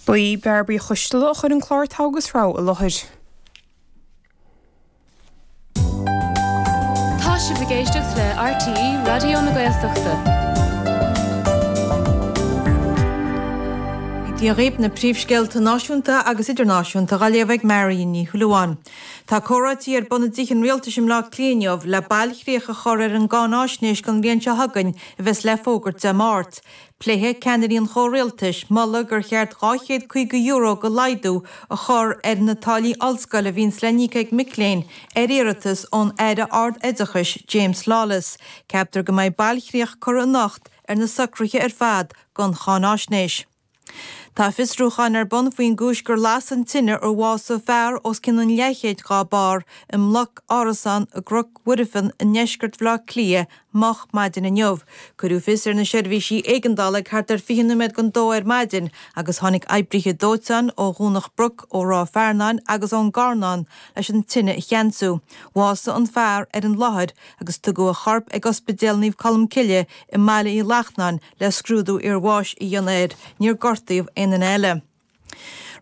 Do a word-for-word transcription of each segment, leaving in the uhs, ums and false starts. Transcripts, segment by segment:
Ba í Bairbre Coisteala a chuir an clár Togha agus Rogha i láthair. Tá sibh ag éisteacht le RTÉ Raidió na Gaeltachta. Dia dhaoibh na príomhscéalta náisiúnta agus idirnáisiúnta á léamh ag Marion Ní Shúilleabháin. Tá comhráití ar bun i dTigh an Rialtais i mBleá Cliath inniu le bailchríoch a chur ar an gcáináisnéis don bhliain seo chugainn a bheas le fógairt Dé Máirt. Pléifidh ceannairí an chomhrialtais moladh gur cheart dhá chéad caoga euro de laghdú a chur ar na táillí ollscoile a bhíonns le n-íoc ag mic léinn ar iarratas ón Aire Ard-Oideachais James Lawless. Ceaptar go mbeidh bailchríoch curtha anocht ar na socruithe ar fad don cháináisnéis. Tá fiosrúchán ar bun faoin gcúis gur las an tine ar bhásaigh fear os cionn an leathchéid dhá barr i mbloc árasán i gCnoc Mhuirfean i ndeisceart Bhaile Átha Cliath moch maidin inniu. Cuireadh fios ar na seirbhísí éigeandála ag thart ar fiche nóiméad don dó ar maidin agus tháinig oibrithe dóiteáin ó Dhomhnach Broc, ó Ráth Fearnáin agus ón gCarnán leis an tine a cheansú. Bhásaigh an fear ar an láthair agus tugadh a chorp ag Ospidéal Naomh Colm Cille i mBaile Uí Lachnáin le scrúdú iarbháis a dhéanamh air. Níor gortaíodh aon duine eile.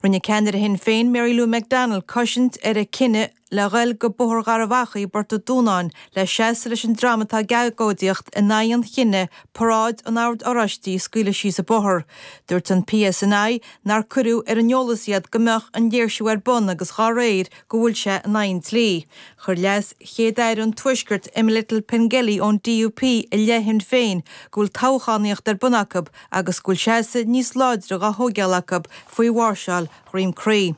Rinne ceannaire Shinn Féin Mary Lou McDonald cosaint ar a cinneadh le ghoil go Bóthar Gharbh Achaidh i bPort an Dúnáin le seasamh leis an dream atá ag agóidíocht in aghaidh an chinnidh paráid an Oird Oráistigh a scaoileadh síos an bóthar. Dúirt an PSNI nár cuireadh ar an eolas iad go mbeadh an léirsiú ar bun agus dá réir go bhfuil sé in aghaidh an dlí. Chuir Leas Chéad Aire an Tuaiscirt Emma Little Pengelly ón DUP i leith Shinn Féin go bhfuil toghchánaíocht ar bun acu agus go bhfuil seasamh níos láidre dhá thógáil acu faoi mháirseáil Dhroim Crí.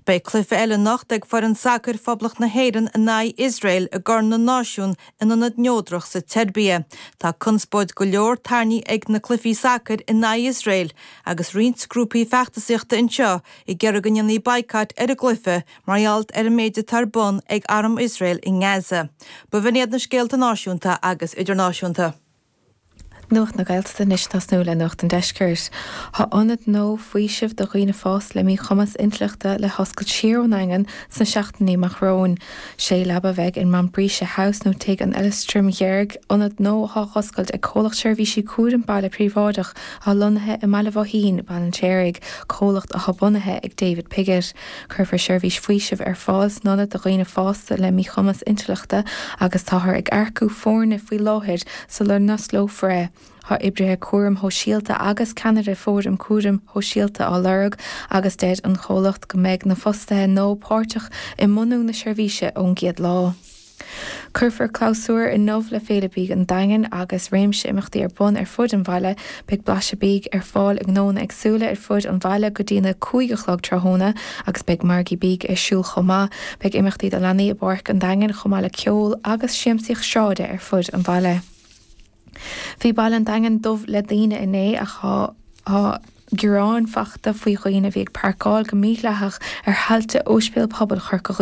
Beidh cluiche eile anocht ag foireann sacair Phoblacht na hÉireann in aghaidh Iosrael i gCorn na Náisiún in ionad neodrach sa tSeirbia. Tá conspóid go leor tarraingthe ag na cluichí sacair in aghaidh Iosrael agus roinnt grúpaí feachtasaíochta anseo ag iarraidh go ndéanfaí baghcat ar an gcluiche mar gheall ar an méid atá ar bun ag arm Iosrael i nGaza. B'in iad na scéalta náisiúnta agus idirnáisiúnta. Nuacht na Gaeltachta anois ag tosnú le Nuacht an Deiscirt. Tá ionad nua faoisimh do dhaoine fásta le míchumas intleachta le hoscailt siar ón nDaingean sna seachtainí amach romhainn. Sé leaba a bheidh in Montbretia House nó Tigh an Fheileastraim Dheirg, ionad nua atá á oscailt ag comhlacht seirbhísí cúraim baile príobháideach atá lonnaithe i mBaile Bhoithín, Baile an tSéaraigh, comhlacht atá bunaithe ag David Piggott. Cuirfear seirbhís faoisimh ar fáil san ionad do dhaoine fásta le míchumas intleachta agus táthar ag earcú foirne faoi láthair sula n-osclófar é. Tá oibrithe cúraim shóisialta agus ceannaire fóram cúraim shóisialta á lorg agus deir an comhlacht go mbeidh na fostaithe nua páirteach i mbunú na seirbhíse ón gcéad lá. Cuirfear clabhsúr inniu le Féile Bídh an Daingin agus réimse imeachtaí ar bun ar fud an bhaile. Beidh blaiseadh bídh ar fáil i ngnónna éagsúla ar fud an bhaile go dtí na cúig a chlog tráthnóna agus beidh margaí bídh ar siúl chomh maith. Beidh imeachtaí do leanaí i bPáirc an Daingin chomh maith le ceol agus siamsaíocht sráide ar fud an bhaile. Bhí baile an Daingin dubh le daoine inné ach tá gearáin faighte faoi dhaoine a bhí ag páirceáil go mídhleathach ar thailte Ospidéal Pobail Chorca Dhuibhne.